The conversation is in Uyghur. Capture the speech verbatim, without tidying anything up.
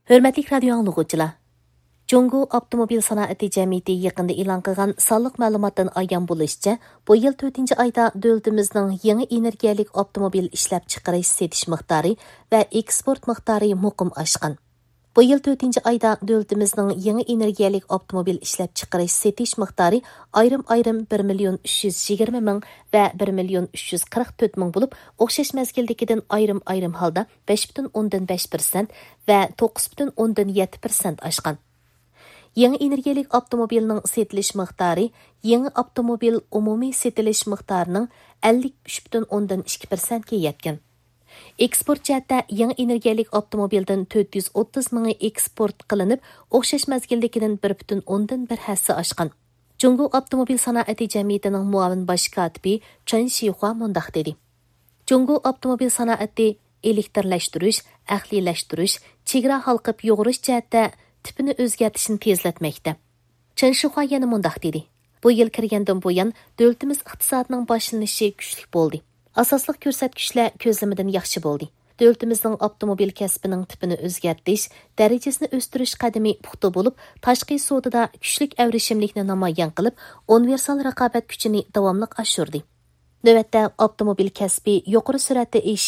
ھۆرمەتلىك رادىيو ئاڭلىغۇچىلار! جۇڭگو ئاپتوموبىل سانائىتى جەمئىيىتى يېقىندا ئېلان قىلغان سانلىق مەلۇماتتىن ئايان بولۇشىچە، بۇ يىل تۆتىنچى ئايدا دۆلىتىمىزنىڭ يېڭى ئېنېرگىيەلىك ئاپتوموبىل ئىشلەپچىقىرىش سېتىش مىقدارى ۋە ئېكسپورت مىقدارى مۇقىم ئاشقان. بۇ يىل تۆتىنچى ئايدا دۆلىتىمىزنىڭ يېڭى ئېنېرگىيەلىك ئاپتوموبىل ئىشلەپچىقىرىش سېتىش مىقدارى ئايرىم-ئايرىم بىر مىليون ئۈچ يۈز يىگىرمە مىڭ ۋە بىر مىليون ئۈچ يۈز قىرىق تۆت مىڭ بولۇپ، ئوخشاش مەزگىلدىكىدىن ئايرىم-ئايرىم ھالدا بەش پۈتۈن ئوندىن بەش پىرسەنت ۋە توققۇز پۈتۈن ئوندىن يەتتە پىرسەنت ئاشقان. يېڭى ئېنېرگىيەلىك ئاپتوموبىلنىڭ سېتىلىش مىقدارى يېڭى ئاپتوموبىل ئومۇمىي سېتىلىش مىقدارىنىڭ ئەللىك ئۈچ پۈتۈن ئوندىن ئىككى پىرسەنتكە يەتكەن. ئېكسپورت جەھەتتە يېڭى ئېنېرگىيەلىك ئاپتوموبىلدىن تۆت يۈز ئوتتۇز مىڭى ئېكسپورت قىلىنىپ، ئوخشاش مەزگىلدىكىدىن بىر پۈتۈن ئوندىن بىر ھەسسە ئاشقان. جۇڭگو ئاپتوموبىل سانائىتى جەمئىيىتىنىڭ مۇئاۋىن باش كاتىپى چېن شىخۇا مۇنداق دېدى: جۇڭگو ئاپتوموبىل سانائىتى ئېلېكتىرلەشتۈرۈش، ئەقلىيلەشتۈرۈش، چېگرا ھالقىپ يۇغۇرۇش جەھەتتە تىپىنى ئۆزگەرتىشنى تېزلەتمەكتە. چېن شىخۇا يەنە مۇنداق دېدى: بۇ يىل كىرگەندىن بۇيان، دۆلىتىمىز ئىقتىسادىنىڭ باشلىنىشى كۈچلۈك بولدى. ئاساسلىق كۆرسەتكۈچلەر كۆزلىمىدىن ياخشى بولدى. دۆلىتىمىزنىڭ ئاپتوموبىل كەسپىنىڭ تىپىنى ئۆزگەرتىش، دەرىجىسىنى ئۆستۈرۈش قەدىمى پۇختا بولۇپ، تاشقى سودىدا كۈچلۈك ئەۋرىشىملىكنى نامايان قىلىپ، ئۇنىۋېرسال رىقابەت كۈچىنى داۋاملىق ئاشۇردى. نۆۋەتتە ئاپتوموبىل كەسپى يۇقىرى سۈرئەتتە ئېشىش